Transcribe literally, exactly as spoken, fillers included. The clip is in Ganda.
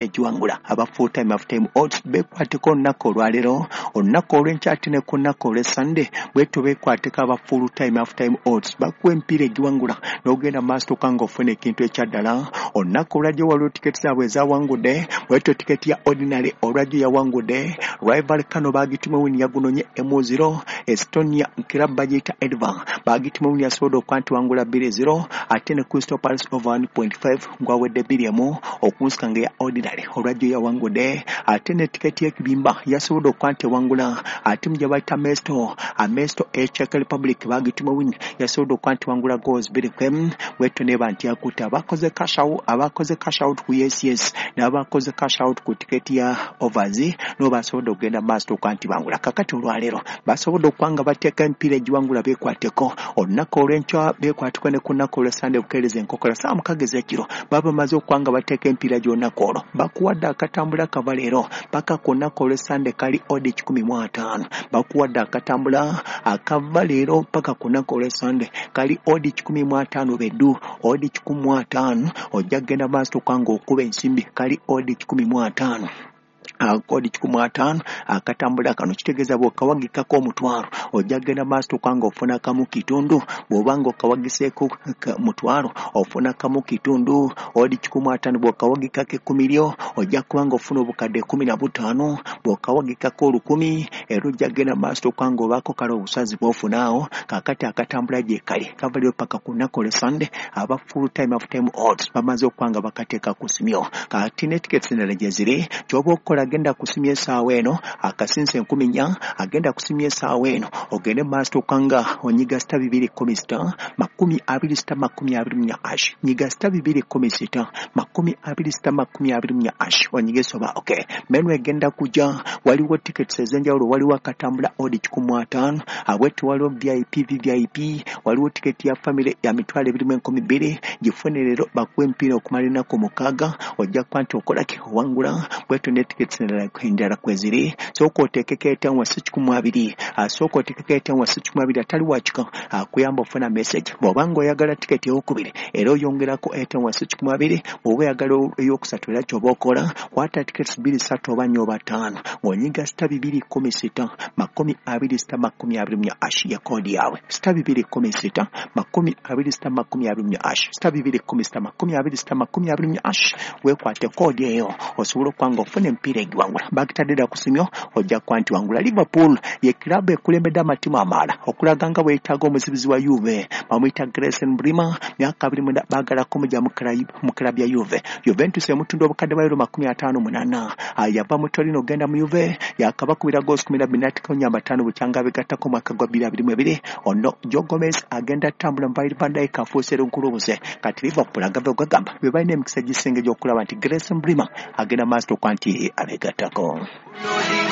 Egiwangula aba full time half time odds bekwateko olunaku olwaleero, olunaku olw'enkya, ate ne ku lunaku olw'Essande bwetyo bekwateko. Aba full time half time odds bakuwa emipiira egiwangula n'ogenda maaso toka ng'ofuna ekintu ekyaddala. Olunaku olwajjo waliwo tiketi zaabwe ezawangudde bwetyo. Tiketi ya ordinary olwajjo yawangudde Rayo Vallecano, bagituma win, yagunonye emu zero. Estonia club bagiyita Edva, bagituma win, yasobodde okuba nti wangula bbiri zero, ate ne Crystal Palace over one point five ngwawedde bbiri emu. Okunsika nga eya ordinary olwajjo yawangudde, ate ne tiketi y'ekibimba yasobodde okuba nti ewangula ate mu gye bayita Mesto Amesto e Czech Republic, bagituma win, yasobodde okuba nti wangula goals bbiri kwemu. Bwetyo neba nti yakutte abakoze cash out, abakoze cash out ku yes yes n'abakoze cash out ku tiketi ya overs no basobodde okugenda maaso okuba nti bangula. Kakati olwaleero basobodde okuba nga bateeka emipiira egiwangula beekwateko, olunaku olw'enkya beekwateko, ne ku lunaku olw'Essande bukeereza enkokola saa mukaaga ez'ekiro baba bamaze okuba nga bateeka emipiira gy'olunaku olwo. Bakuwadde akatambula kava leero paka ku lunaku olw'Essande, kali odd kikumi mu ataano. Bakuwadde akatambula akava leero paka ku lunaku olw'Essande, kali odd kikumi mu ataano beddu, odd kikumi mu ataano. Ojja kugenda maaso okuba nga okuba ensimbi, kali odd kikumi mu ataano, odd kikumi mu ataano akatambula kano. Kitegeeza bw'okawagikako omutwalo ojja kugenda maaso okuba nga ofuna kamu kitundu. Bw'oba nga okawagiseeko mutwalo ofuna kamu kitundu, odd kikumi mu ataano. Bw'okawagikako ekkumi lyo ojja kuba nga ofuna obukadde kumi na butaano. Bw'okawagikako olukumi era ojja kugenda maaso okuba nga obaako kale obusazi bw'ofunaawo. Kaakati akatambula gye kali kava leero paka ku lunaku olw'Essande. Aba full time half time odds bamaze okuba nga bakateeka ku simyo. Kati ne tickets endala gye ziri, ky'oba okukola, agenda kusimya essaawa eno akasinza enkumi nnya, agenda kusimya essaawa eno, ogende maaso okanga onyiga star bibiri kumi sita makumi abiri sita makumi abiri mu nnya hash. Nyiga star bibiri kumi sita makumi abiri sita makumi abiri mu nnya hash, onyige soba. Okay, menu egenda kujja, waliwo tickets ez'enjawulo. Waliwo akatambula odd kikumi mu ataano abwetu, waliwo V I P, V V I P, waliwo tiketi ya family ya mitwalo ebiri mu enkumi bbiri. Gifune leero bakuwa emipiira okumala ennaku mukaaga, ojja kuba nti okolaki, owangula. Bwetyo ne tickets endala kweziri. Sooka oteekeko etaano wasi kikumi mu abiri, asooka oteekeko etaano wasi kikumi mu abiri, atali wakika akuyamba ofuna message. Bw'oba nga oyagala tiketi eyokubiri era oyongerako etaano wasi kikumi mu abiri. Bw'oba oyagala eyokusatu era kyoba okola, kwata tickets bbiri, ssatu oba nnya oba ttaano, ng'onyiga star bibiri kumi sita makumi abiri sita makumi abiri mu nnya hash ya koodi yaabwe, star bibiri kumi sita makumi abiri sita makumi abiri mu nnya hash, star bibiri kumi sita makumi abiri sita makumi abiri mu nnya hash. Weekwate koodi eyo osobola okuba nga ofuna emipiira egiwangula. Bagitadde dda ku simyo, ojja kuba nti wangula. Liverpool ye kiraabu ekulembedde amatimu amalala okulaga nga bweyetaaga omuzibizi wa Juve, bamuyita Gleison Bremer, myaka abiri mwenda, baagala kumugya mu kiraabu ya Juve. Juventus emutunda obukadde bwa euro makumi ataano munana. Yava mu Torino ogenda mu Juve, yakabakubira goals kumi na bbiri n'ateekawo nnyamba ttaano bukyanga abegattako mwaka gwa bbiri abiri mu ebiri. Ono Joe Gomez agenda ttambula mu Virgil van Dijk afuuse lunkulubuze. Kati Liverpool agava ogagamba be balina emikisa gisinga egy'okulaba nti Gleison Bremer agenda maaso okuba nti abegattako.